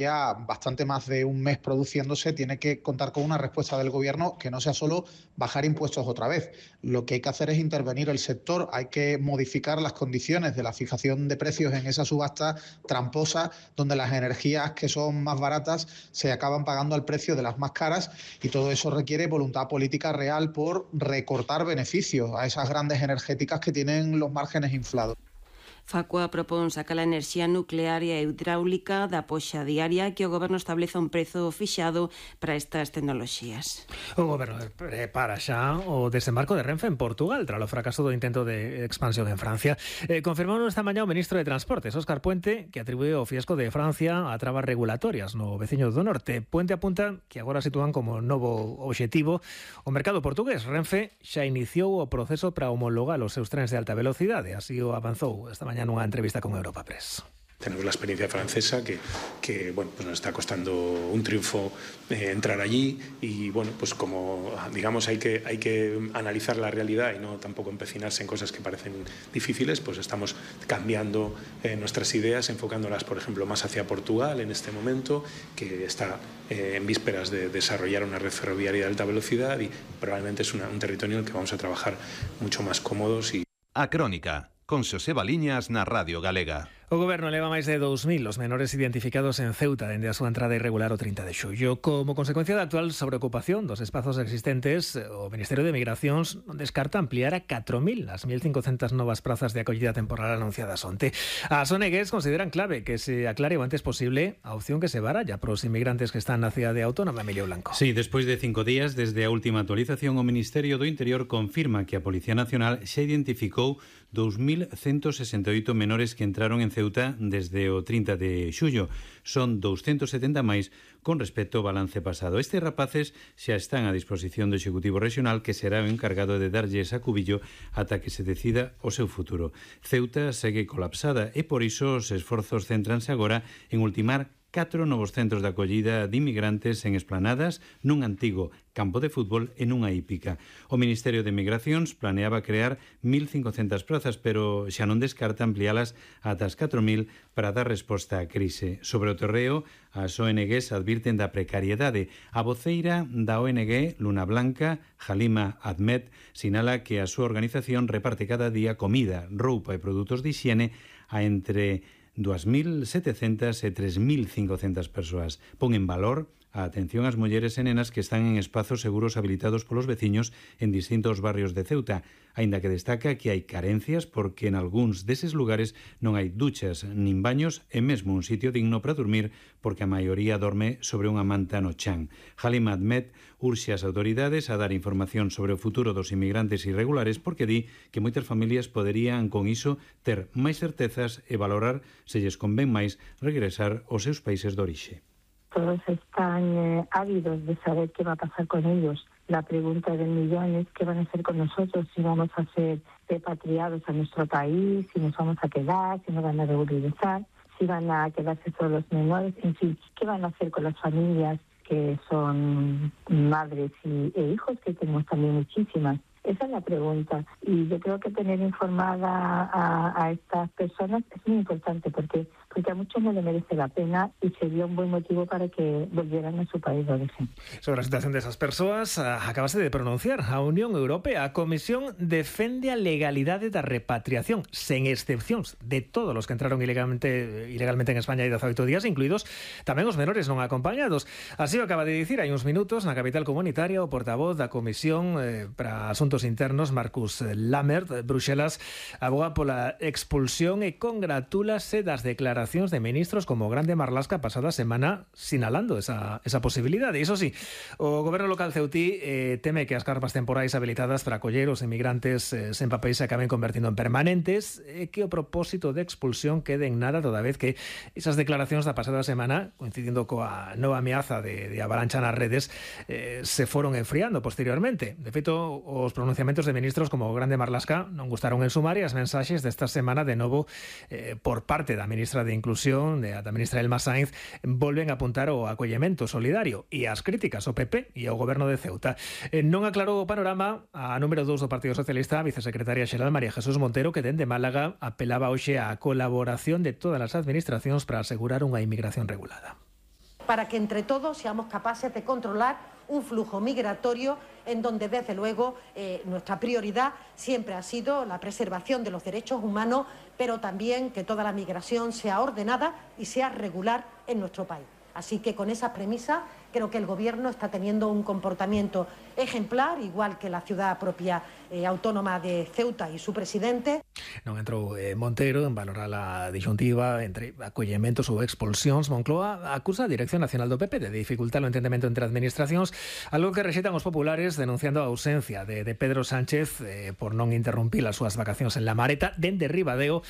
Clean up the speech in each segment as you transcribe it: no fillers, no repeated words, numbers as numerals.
ya bastante más de un mes produciéndose, tiene que contar con una respuesta del gobierno que no sea solo bajar impuestos otra vez. Lo que hay que hacer es intervenir el sector, hay que modificar las condiciones de la fijación de precios en esa subasta tramposa, donde las energías que son más baratas se acaban pagando al precio de las más caras, y todo eso requiere voluntad política real por recortar beneficios a esas grandes energéticas que tienen los márgenes inflados. Facua propón sacar a enerxía nuclear e a hidráulica da poxa diaria, que o goberno estableza un prezo fixado para estas tecnoloxías. O goberno prepara xa o desembarco de Renfe en Portugal tras o fracaso do intento de expansión en Francia. Confirmou esta mañá o ministro de Transportes, Óscar Puente, que atribúe o fiasco de Francia a trabas regulatorias no veciño do norte. Puente apunta que agora sitúan como novo obxectivo o mercado portugués. Renfe xa iniciou o proceso para homologar os seus trens de alta velocidade. Así o avanzou esta mañá nunha entrevista con Europa Press. Tenemos la experiencia francesa que bueno, pues nos está costando un triunfo entrar allí, y bueno, pues como digamos hay que analizar la realidad y no tampoco empecinarse en cosas que parecen difíciles, pues estamos cambiando nuestras ideas, enfocándolas por ejemplo más hacia Portugal en este momento, que está en vísperas de desarrollar una red ferroviaria de alta velocidad, y probablemente es un territorio en el que vamos a trabajar mucho más cómodos. A Crónica, con Xoseba Liñas na Radio Galega. O goberno leva máis de 2.000 os menores identificados en Ceuta dende a súa entrada irregular o 30 de xullo. Como consecuencia da actual sobreocupación dos espazos existentes, o Ministerio de Migracións non descarta ampliar a 4.000 as 1.500 novas prazas de acollida temporal anunciadas onte. As ONGs consideran clave que se aclare o antes posible a opción que se baralla para os inmigrantes que están na cidade autónoma. Emilio Blanco. Sí, despois de 5 días desde a última actualización, o Ministerio do Interior confirma que a Policía Nacional xa identificou 2.168 menores que entraron en Ceuta desde o 30 de xullo. Son 270 máis con respecto ao balance pasado. Estes rapaces xa están a disposición do Executivo Regional, que será o encargado de darlles a cubillo ata que se decida o seu futuro. Ceuta segue colapsada e por iso os esforzos céntranse agora en ultimar 4 novos centros de acollida de inmigrantes en Esplanadas, nun antigo campo de fútbol e nunha hípica. O Ministerio de Migracións planeaba crear 1.500 prazas, pero xa non descarta ampliálas ata as 4.000 para dar resposta á crise. Sobre o terreo, as ONGs advirten da precariedade. A voceira da ONG Luna Blanca, Halima Ahmed, sinala que a súa organización reparte cada día comida, roupa e produtos de higiene a entre 2.700 e 3.500 persoas. Pon en valor a atención ás mulleres e nenas que están en espazos seguros habilitados polos veciños en distintos barrios de Ceuta, aínda que destaca que hai carencias porque en algúns deses lugares non hai duchas nin baños e mesmo un sitio digno para dormir, porque a maioría dorme sobre unha manta no chan. Halima Ahmed urxe as autoridades a dar información sobre o futuro dos inmigrantes irregulares, porque di que moitas familias poderían con iso ter máis certezas e valorar se lles convén máis regresar aos seus países de orixe. Todos están ávidos de saber qué va a pasar con ellos. La pregunta del millón es qué van a hacer con nosotros, si vamos a ser repatriados a nuestro país, si nos vamos a quedar, si nos van a regularizar, si van a quedarse solo los menores, en fin, qué van a hacer con las familias que son madres e hijos, que tenemos también muchísimas. Esa es la pregunta, y yo creo que tener informada a estas personas es muy importante, porque a muchos no le merece la pena y sería un buen motivo para que volvieran a su país de origen. Sobre la situación de esas persoas, acabase de pronunciar a Unión Europea. A Comisión defende a legalidade da repatriación, sen excepcións, de todos os que entraron ilegalmente en España hai 18 días, incluídos tamén os menores non acompañados. Así o acaba de dicir hai uns minutos na capital comunitaria o portavoz da Comisión para Asuntos Internos, Marcus Lammert. Bruxelas aboga pola expulsión e congratúlase das declaracións de ministros como Grande Marlaska pasada semana sinalando esa posibilidade. Iso sí, o goberno local ceutí teme que as carpas temporais habilitadas para acoller os inmigrantes sen papéis se acaben convertindo en permanentes e que o propósito de expulsión quede en nada, toda vez que esas declaracións da pasada semana, coincidindo coa nova ameaza de avalancha nas redes, se foron enfriando posteriormente. De feito, os pronunciamentos de ministros como Grande Marlaska non gustaron en sumar, e as mensaxes desta semana de novo por parte da ministra de Inclusión, da ministra Elma Sainz, volven a apuntar ao acollemento solidario e as críticas ao PP e ao goberno de Ceuta. Non aclarou o panorama a número 2 do Partido Socialista, a vicesecretaria xeral María Jesús Montero, que dende Málaga apelaba hoxe á colaboración de todas as administracións para asegurar unha inmigración regulada. para que entre todos seamos capaces de controlar un flujo migratorio en donde, desde luego, nuestra prioridad siempre ha sido la preservación de los derechos humanos, pero también que toda la migración sea ordenada y sea regular en nuestro país. Así que con esas premisas creo que el Gobierno está teniendo un comportamiento ejemplar, igual que la ciudad propia autónoma de Ceuta y su presidente. Non entrou Montero en valorar a disyuntiva entre acollementos ou expulsións. Moncloa acusa a Dirección Nacional do PP de dificultar o entendemento entre administracións, algo que rexeitan os populares denunciando a ausencia de Pedro Sánchez por non interrumpir as súas vacacións en La Mareta dende Ribadeo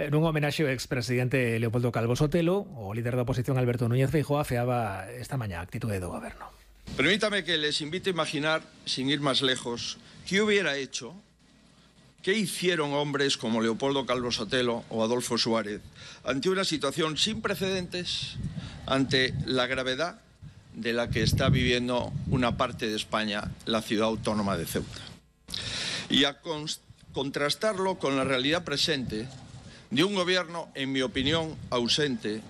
nun homenaxe ao expresidente Leopoldo Calvo Sotelo. O líder da oposición Alberto Núñez Feijóo afeaba esta mañá a actitude do Goberno. Permítame que les invite a imaginar, sin ir más lejos, qué hubiera hecho, qué hicieron hombres como Leopoldo Calvo Sotelo o Adolfo Suárez ante una situación sin precedentes, ante la gravedad de la que está viviendo una parte de España, la ciudad autónoma de Ceuta. Y a contrastarlo con la realidad presente de un gobierno, en mi opinión, ausente.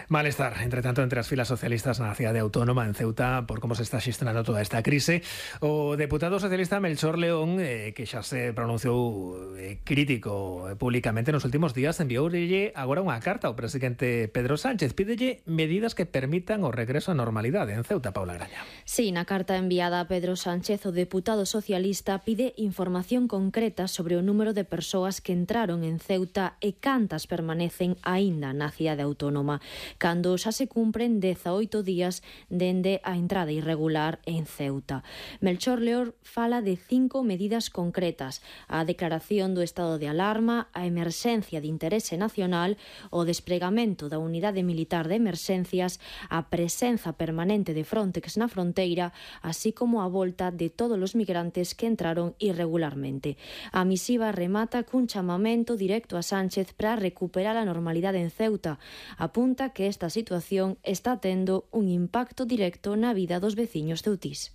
Malestar, entre tanto, entre as filas socialistas na cidade autónoma en Ceuta por como se está xestionando toda esta crise. O deputado socialista Melchor León, que xa se pronunciou crítico públicamente nos últimos días, envioulle agora unha carta ao presidente Pedro Sánchez. Pídelle medidas que permitan o regreso á normalidade en Ceuta. Paula Graña. Sí, na carta enviada a Pedro Sánchez, o deputado socialista pide información concreta sobre o número de persoas que entraron en Ceuta e cantas permanecen aínda na cidade autónoma, cando xa se cumpren 18 días dende a entrada irregular en Ceuta. Melchor León fala de 5 medidas concretas: a declaración do estado de alarma, a emerxencia de interese nacional, o despregamento da unidade militar de emerxencias, a presenza permanente de Frontex na fronteira, así como a volta de todos os migrantes que entraron irregularmente. A misiva remata cun chamamento directo a Sánchez para recuperar a normalidade en Ceuta. Apunta que esta situación está tendo un impacto directo na vida dos veciños ceutís.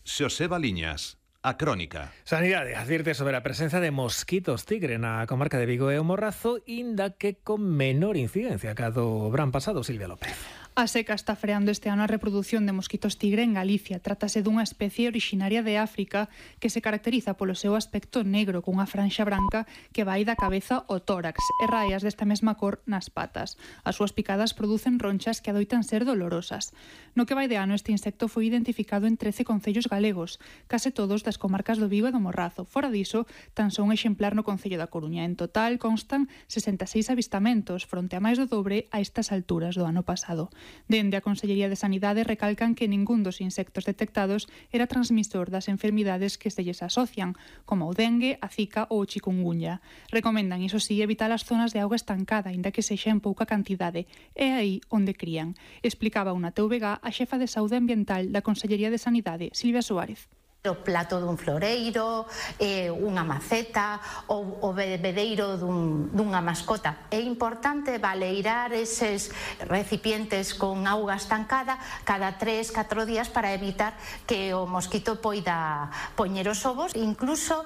Xosé Baliñas, a Crónica. Sanidade advirte sobre a presenza de mosquitos tigre na comarca de Vigo e o Morrazo, inda que con menor incidencia que a do verán pasado. Silvia López. A seca está freando este ano a reprodución de mosquitos tigre en Galicia. Trátase dunha especie orixinaria de África que se caracteriza polo seu aspecto negro cunha franxa branca que vai da cabeza ao tórax e raias desta mesma cor nas patas. As súas picadas producen ronchas que adoitan ser dolorosas. No que vai de ano, este insecto foi identificado en 13 concellos galegos, case todos das comarcas do Vigo e do Morrazo. Fora diso, tan só un exemplar no concello da Coruña. En total constan 66 avistamentos, fronte a máis do dobre a estas alturas do ano pasado. Dende a Consellería de Sanidade recalcan que ningún dos insectos detectados era transmisor das enfermidades que se lles asocian, como o dengue, a zika ou o chikungunya. Recomendan, iso sí, evitar as zonas de auga estancada, inda que sexa en pouca cantidade. É aí onde crían. Explicaba unha TVG a xefa de Saúde Ambiental da Consellería de Sanidade, Silvia Suárez. O plato dun floreiro, unha maceta ou o bebedeiro dunha mascota. É importante baleirar eses recipientes con auga estancada cada 3-4 días para evitar que o mosquito poida poñer os ovos. Incluso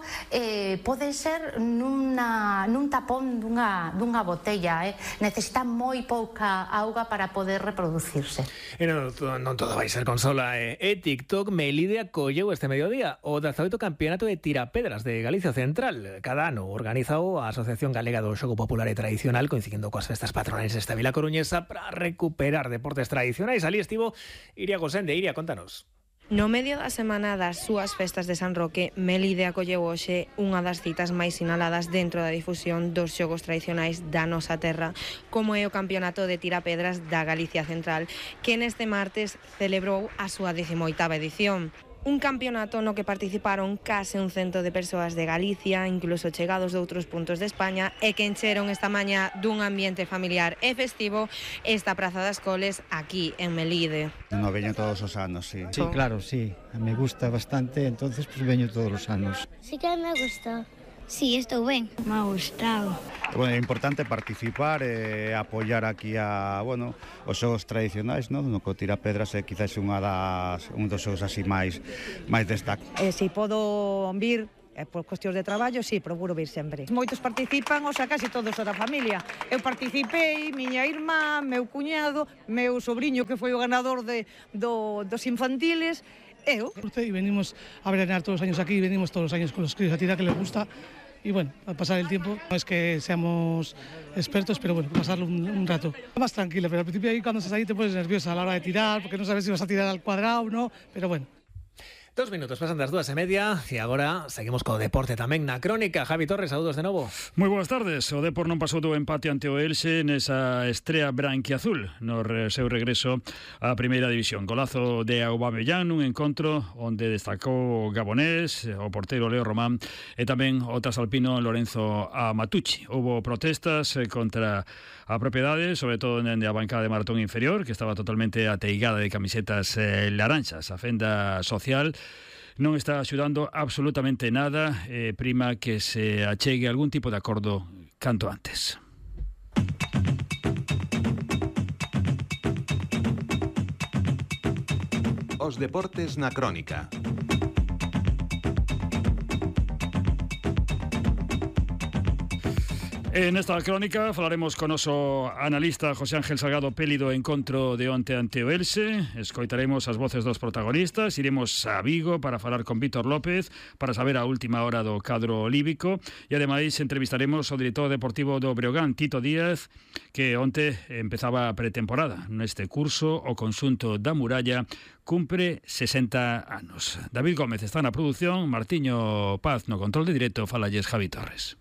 pode ser nun tapón dunha botella. Necesita moi pouca auga para poder reproducirse. E non todo vai ser consola. TikTok Melide acolleu este mediodía o 18º Campeonato de Tirapedras de Galicia Central. Cada ano organizao a Asociación Galega do Xogo Popular e Tradicional, coincidindo coas festas patronais desta vila coruñesa, para recuperar deportes tradicionais. Ali estivo Iria Gosende. Iria, contanos. No medio da semana das súas festas de San Roque, Melide acolleu hoxe unha das citas máis sinaladas dentro da difusión dos xogos tradicionais da nosa terra, como é o Campeonato de Tirapedras da Galicia Central, que neste martes celebrou a súa 18ª edición. Un campeonato no que participaron case 100 de persoas de Galicia, incluso chegados de outros puntos de España, e que encheron esta mañá dun ambiente familiar e festivo esta Praza das Coles aquí en Melide. No veño todos os anos, sí. Sí, claro, sí. Me gusta bastante, entonces pues veño todos os anos. Sí que me gustó. Sí, estou ben. Me ha gustado. Bueno, é importante participar e apoiar aquí os xogos tradicionais, no que o Tirapedras é quizás un dos xogos así máis destacados. Si podo vir por cuestións de traballo, sí, procuro vir sempre. Moitos participan, o sea, casi todos son da familia. Eu participei, miña irmá, meu cuñado, meu sobrinho que foi o ganador dos infantiles, eu. Y venimos a veranear todos los años aquí, venimos todos los años con los críos a tirar, que les gusta. Y bueno, a pasar el tiempo, no es que seamos expertos, pero bueno, pasarlo un rato. Más tranquilo, pero al principio ahí cuando estás ahí te pones nerviosa a la hora de tirar, porque no sabes si vas a tirar al cuadrado o no, pero bueno. 2 minutos, pasan das 2:30 e agora seguimos co deporte tamén na crónica. Javi Torres, saúdos de novo. Moi boas tardes. O Depor non pasou do empate ante o Elxe nesa estrea branquiazul no seu regreso á primeira división. Golazo de Aubameyang nun encontro onde destacou o gabonés, o porteiro Leo Román e tamén o trasalpino Lorenzo Amatucci. Houbo protestas contra a propiedade, sobre todo dende a bancada de Maratón inferior, que estaba totalmente ateigada de camisetas laranxas. A fenda social non está axudando absolutamente nada, prima que se achegue algún tipo de acordo canto antes. Os deportes na crónica. En esta crónica falaremos con noso analista José Ángel Salgado Peli do encontro de onte ante o Elxe. Escoitaremos as voces dos protagonistas. Iremos a Vigo para falar con Vítor López para saber a última hora do cadro líbico. E ademais entrevistaremos o director deportivo do Breogán, Tito Díaz, que onte empezaba a pretemporada. Neste curso o conxunto da Muralla cumpre 60 anos. David Gómez está na produción, Martiño Paz no control de directo, falalles Javi Torres.